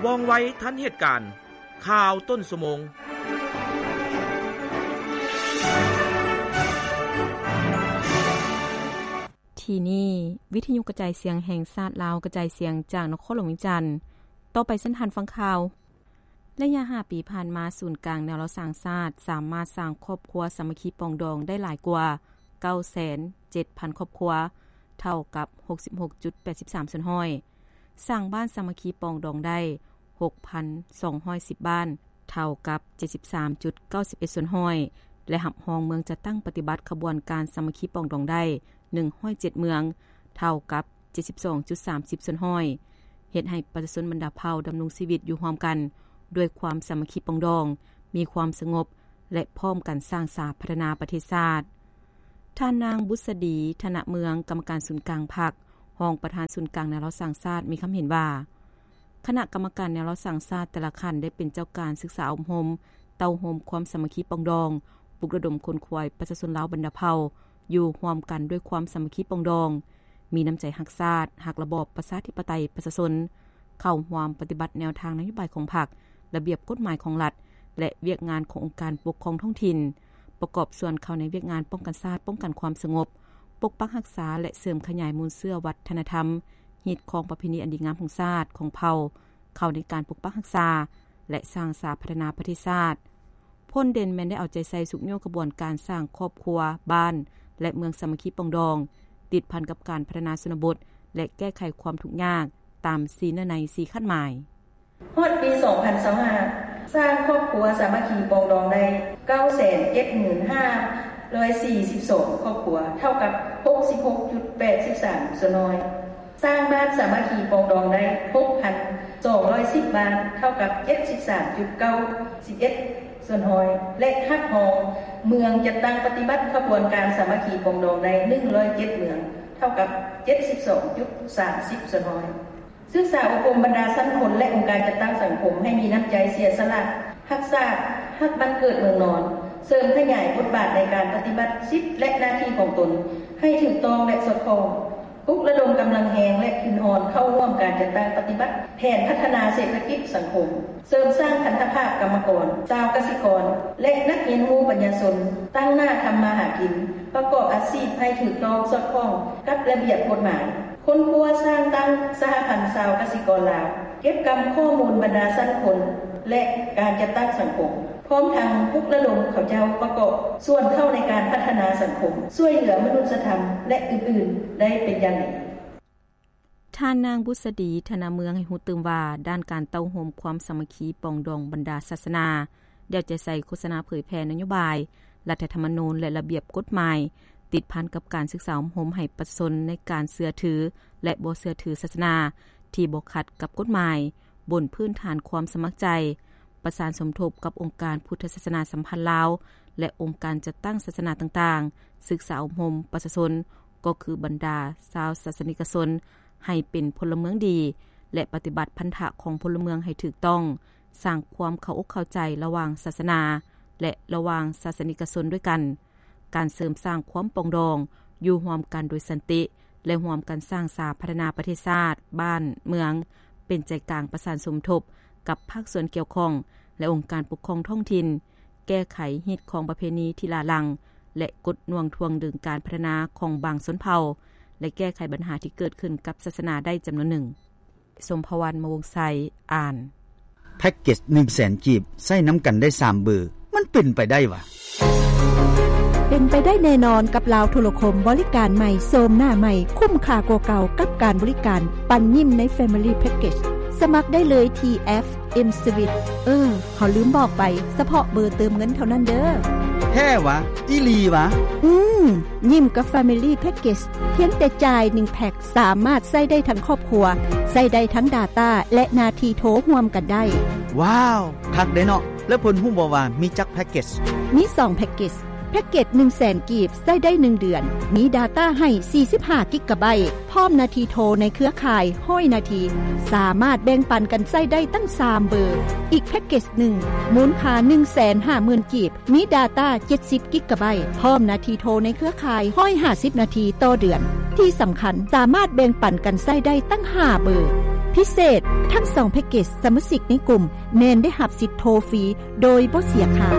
ວ່ອງໄວທັນເຫດການ. ຂ່າວຕົ້ນຊົ່ວໂມງ. ທີ່ນີ້ ວິທະຍຸກະຈາຍສຽງແຫ່ງຊາດລາວ ກະຈາຍສຽງຈາກນະຄອນຫຼວງວຽງຈັນ. ຕໍ່ໄປເຊີນທ່ານຟັງຂ່າວ. ໄລຍະຫ້າປີຜ່ານມາ, ສູນກາງແນວລາວສ້າງຊາດ ສາມາດສ້າງຄອບຄົວສາມັກຄີປອງດອງໄດ້ຫຼາຍກວ່າ ເກົ້າແສນເຈັດພັນຄອບຄົວ, ເທົ່າກັບ ຫົກສິບຫົກຈຸດແປດສິບສາມສ່ວນຮ້ອຍ, ສ້າງບ້ານສາມັກຄີປອງດອງໄດ້ ຫົກພັນສອງຮ້ອຍສິບບ້ານ, ເທົ່າກັບ ເຈັດສິບສາມຈຸດເກົ້າສິບເອັດສ່ວນຮ້ອຍ ແລະ ຮັບຮອງເມືອງຈັດຕັ້ງປະຕິບັດຂະບວນການສາມັກຄີປອງດອງໄດ້ ໜຶ່ງຮ້ອຍເຈັດເມືອງ, ເທົ່າກັບ ເຈັດສິບສອງຈຸດສາມສິບສ່ວນຮ້ອຍ ເຮັດໃຫ້ປະຊາຊົນບັນດາເຜົ່າດຳລົງຊີວິດຢູ່ຮ່ວມກັນດ້ວຍຄວາມສາມັກຄີປອງດອງ, ມີຄວາມສະຫງົບ ແລະ ພ້ອມກັນສ້າງສາພັດທະນາປະເທດຊາດ. ທ່ານນາງ ບຸດສະດີ ທະນະເມືອງ, ກຳມະການສູນກາງພັກ, ຮອງປະທານສູນກາງແນວລາວສ້າງຊາດ ມີຄຳເຫັນວ່າ ຄະນະກຳມະການແນວລາວສ້າງຊາດແຕ່ລະຂັ້ນໄດ້ເປັນເຈົ້າການສຶກສາອົບຮົມ, ເຕົ້າໂຮມຄວາມສາມັກຄີປອງດອງ, ປຸກລະດົມຂົນຂວາຍປະຊາຊົນລາວບັນດາເຜົ່າ ຢູ່ຮ່ວມກັນດ້ວຍຄວາມສາມັກຄີປອງດອງ, ມີນ້ຳໃຈຮັກຊາດ, ຮັກລະບອບປະຊາທິປະໄຕປະຊາຊົນ, ເຂົ້າຮ່ວມປະຕິບັດແນວທາງນະໂຍບາຍຂອງພັກ, ລະບຽບກົດໝາຍຂອງລັດ ແລະ ວຽກງານຂອງອົງການປົກຄອງທ້ອງຖິ່ນ, ປະກອບສ່ວນເຂົ້າໃນວຽກງານປ້ອງກັນຊາດ, ປ້ອງກັນຄວາມສະຫງົບ, ປົກປັກຮັກສາ ແລະ ເສີມຂະຫຍາຍມູນເຊື້ອວັດທະນະທຳ, ຮີດຄອງປະເພນີອັນດີງາມຂອງຊາດ, ຂອງເຜົ່າ, ເຂົ້າໃນການປົກປັກຮັກສາ ແລະ ສ້າງສາພັດທະນາປະເທດຊາດ. ຜົນເດັ່ນແມ່ນໄດ້ເອົາໃຈໃສ່ຊຸກຍູ້ຂະບວນການສ້າງຄອບຄົວ, ບ້ານ ແລະ ເມືອງສາມັກຄີປອງດອງ, ຕິດພັນກັບການພັດທະນາຊົນນະບົດ ແລະ ແກ້ໄຂຄວາມທຸກຍາກຕາມສີ່ເນື້ອໃນສີ່ຄາດໝາຍ. ຮອດປີສອງພັນຊາວຫ້າ ສ້າງຄອບຄົວສາມັກຄີປອງດອງໄດ້ ເກົ້າແສນເຈັດໝື່ນຫ້າຮ້ອຍສີ່ສິບສອງຄອບຄົວ, ເທົ່າກັບ ຫົກສິບຫົກຈຸດແປດສິບສາມສ່ວນຮ້ອຍ. ສ້າງບ້ານສາມັກຄີປອງດອງໄດ້ ຫົກພັນສອງຮ້ອຍສິບບ້ານ, ເທົ່າກັບ ເຈັດສິບສາມຈຸດເກົ້າສິບເອັດສ່ວນຮ້ອຍ ແລະ ຮັບຮອງເມືອງຈັດຕັ້ງປະຕິບັດຂະບວນການສາມັກຄີປອງດອງໄດ້ ໜຶ່ງຮ້ອຍເຈັດເມືອງ, ເທົ່າກັບ ເຈັດສິບສອງຈຸດສາມສິບສ່ວນຮ້ອຍ. ສຶກສາອົບຮົມບັນດາຊັ້ນຄົນ ແລະ ອົງການຈັດຕັ້ງສັງຄົມໃຫ້ມີນ້ຳໃຈເສຍສະຫຼະ, ຮັກຊາດ, ຮັກບ້ານເກີດເມືອງນອນ, ເສີມຂະຫຍາຍບົດບາດໃນການປະຕິບັດສິດ ແລະ ໜ້າທີ່ຂອງຕົນໃຫ້ຖືກຕ້ອງ ແລະ ສອດຄ່ອງ, ປຸກລະດົມກຳລັງແຮງ ແລະ ທຶນຮອນເຂົ້າຮ່ວມການຈັດຕັ້ງປະຕິບັດແຜນພັດທະນາເສດຖະກິດສັງຄົມ, ເສີມສ້າງພັນທະພາບກຳມະກອນ, ຊາວກະສິກອນ ແລະ ນັກຮຽນຮູ້ປັນຍາຊົນ ຕັ້ງໜ້າທຳມາຫາກິນ, ປະກອບອາຊີບໃຫ້ຖືກຕ້ອງສອດຄ່ອງກັບລະບຽບກົດໝາຍ. ຄົ້ນຄວ້າສ້າງຕັ້ງສະຫະພັນຊາວກະສິກອນລາວ, ເກັບກຳຂໍ້ມູນບັນດາຊັ້ນຄົນ ແລະ ການຈັດຕັ້ງສັງຄົມ, ພ້ອມທັງປຸກລະດົມເຂົາເຈົ້າປະກອບສ່ວນເຂົ້າໃນການພັດທະນາສັງຄົມ, ຊ່ວຍເຫຼືອມະນຸດສະທຳ ແລະ ອື່ນໆ ໄດ້ເປັນຢ່າງດີ. ທ່ານນາງ ບຸດສະດີ ທະນະເມືອງ ໃຫ້ຮູ້ຕື່ມວ່າ ດ້ານການເຕົ້າໂຮມຄວາມສາມັກຄີປອງດອງບັນດາສາສະໜາ, ໄດ້ເອົາໃຈໃສ່ໂຄສະນາເຜີຍແຜ່ນະໂຍບາຍ, ລັດຖະທຳມະນູນ ແລະ ລະບຽບກົດໝາຍ, ຕິດພັນກັບການສຶກສາອົບຮົມໃຫ້ປະຊາຊົນໃນການເຊື່ອຖື ແລະ ບໍ່ເຊື່ອຖືສາສະໜາທີ່ບໍ່ຂັດກັບກົດໝາຍ, ບົນພື້ນຖານຄວາມສະໝັກໃຈ, ປະສານສົມທົບກັບອົງການພຸດທະສາສະໜາສຳພັນລາວ ແລະ ອົງການຈັດຕັ້ງສາສະໜາຕ່າງໆ, ສຶກສາອົບຮົມປະຊາຊົນ, ກໍຄືບັນດາຊາວສາສະນິກະຊົນ ໃຫ້ເປັນພົນລະເມືອງດີ ແລະ ປະຕິບັດພັນທະຂອງພົນລະເມືອງໃຫ້ຖືກຕ້ອງ, ສ້າງຄວາມເຂົ້າອົກເຂົ້າໃຈລະຫວ່າງສາສະໜາ ແລະ ລະຫວ່າງສາສະນິກະຊົນດ້ວຍກັນ, ການເສີມສ້າງຄວາມປອງດອງ, ຢູ່ຮ່ວມກັນໂດຍສັນຕິ ແລະ ຮ່ວມກັນສ້າງສາພັດທະນາປະເທດຊາດ, ບ້ານ, ເມືອງ, ເປັນໃຈກາງປະສານສົມທົບກັບພາກສ່ວນກ່ຽວຂ້ອງ ແລະ ອົງການປົກຄອງທ້ອງຖິ່ນ, ແກ້ໄຂຮີດຄອງປະເພນີທີ່ຫຼ້າຫຼັງ ແລະ ກົດໜ່ວງຖ່ວງດຶງການພັດທະນາຂອງບາງຊົນເຜົ່າ ແລະ ແກ້ໄຂບັນຫາທີ່ເກີດຂຶ້ນກັບສາສະໜາໄດ້ຈຳນວນໜຶ່ງ. ສົມພະວັນ ມະວົງໄຊ ອ່ານ. ແພັກເກັດໜຶ່ງແສນກີບ ໃຊ້ນຳກັນໄດ້ສາມເບີ ມັນເປັນໄປໄດ້ຫວາ? ເປັນໄປໄດ້ແນ່ນອນກັບລາວໂທລະຄົມ ບໍລິການໃໝ່ ໂສມໜ້າໃໝ່ ຄຸ້ມຄ່າກວ່າເກົ່າກັບການບໍລິການ ປັນຍິ້ມໃນ Family Package ສະໝັກໄດ້ເລີຍທີ່ແອັບ M-Sweet. ເອີ ເຮົາລືມບອກໄປ, ສະເພາະເບີເຕີມເງິນເທົ່ານັ້ນເດີ້. ແທ້ຫວາ? ອີ່ຫຼີຫວາ? ອືມ, ຍິ້ມກັບ Family Package ພຽງແຕ່ຈ່າຍໜຶ່ງແພັກ ສາມາດໃຊ້ໄດ້ທັງຄອບຄົວ, ໃຊ້ໄດ້ທັງ data ແລະ ໜ້າທີ່ໂທຮ່ວມກັນໄດ້. ວ້າວ, ຄັກເດ້ເນາະ. ແລ້ວເພິ່ນຮູ້ບໍ່ວ່າມີຈັກແພັກເກັດ? ມີສອງແພັກເກັດ. ແພັກເກັດໜຶ່ງແສນກີບ ໃຊ້ໄດ້ໜຶ່ງເດືອນ, ມີ data ໃຫ້ສີ່ສິບຫ້າກິກະໄບ, ພ້ອມໜ້າທີ່ໂທໃນເຄືອຂ່າຍຮ້ອຍນາທີ, ສາມາດແບ່ງປັນກັນໃຊ້ໄດ້ຕັ້ງສາມເບີ. ອີກແພັກເກັດໜຶ່ງ ມູນຄ່າໜຶ່ງແສນຫ້າໝື່ນກີບ, ມີ data ເຈັດສິບກິກະໄບ, ພ້ອມໜ້າທີ່ໂທໃນເຄືອຂ່າຍຮ້ອຍຫ້າສິບນາທີຕໍ່ເດືອນ. ທີ່ສຳຄັນ, ສາມາດແບ່ງປັນກັນໃຊ້ໄດ້ຕັ້ງຫ້າເບີ. ພິເສດ, ທັງສອງແພັກເກຈສະມາຊິກໃນກຸ່ມແມ່ນໄດ້ຮັບສິດໂທຟຣີໂດຍບໍ່ເສຍຄ່າ.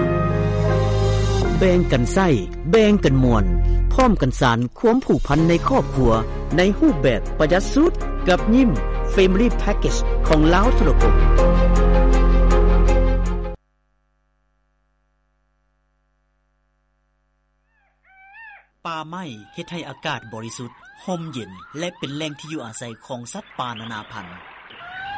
ແບ່ງກັນໃຊ້, ແບ່ງກັນມ່ວນ, ພ້ອມກັນສານຄວາມຜູກພັນໃນຄອບຄົວ ໃນຮູບແບບປະຢັດສຸດ, ກັບຍິ້ມ Family Package ຂອງລາວໂທລະຄົມ. ປ່າໄມ້ເຮັດໃຫ້ອາກາດບໍລິສຸດ, ຮົ່ມເຢັນ ແລະ ເປັນແຫຼ່ງທີ່ຢູ່ອາໄສຂອງສັດປ່ານານາພັນ.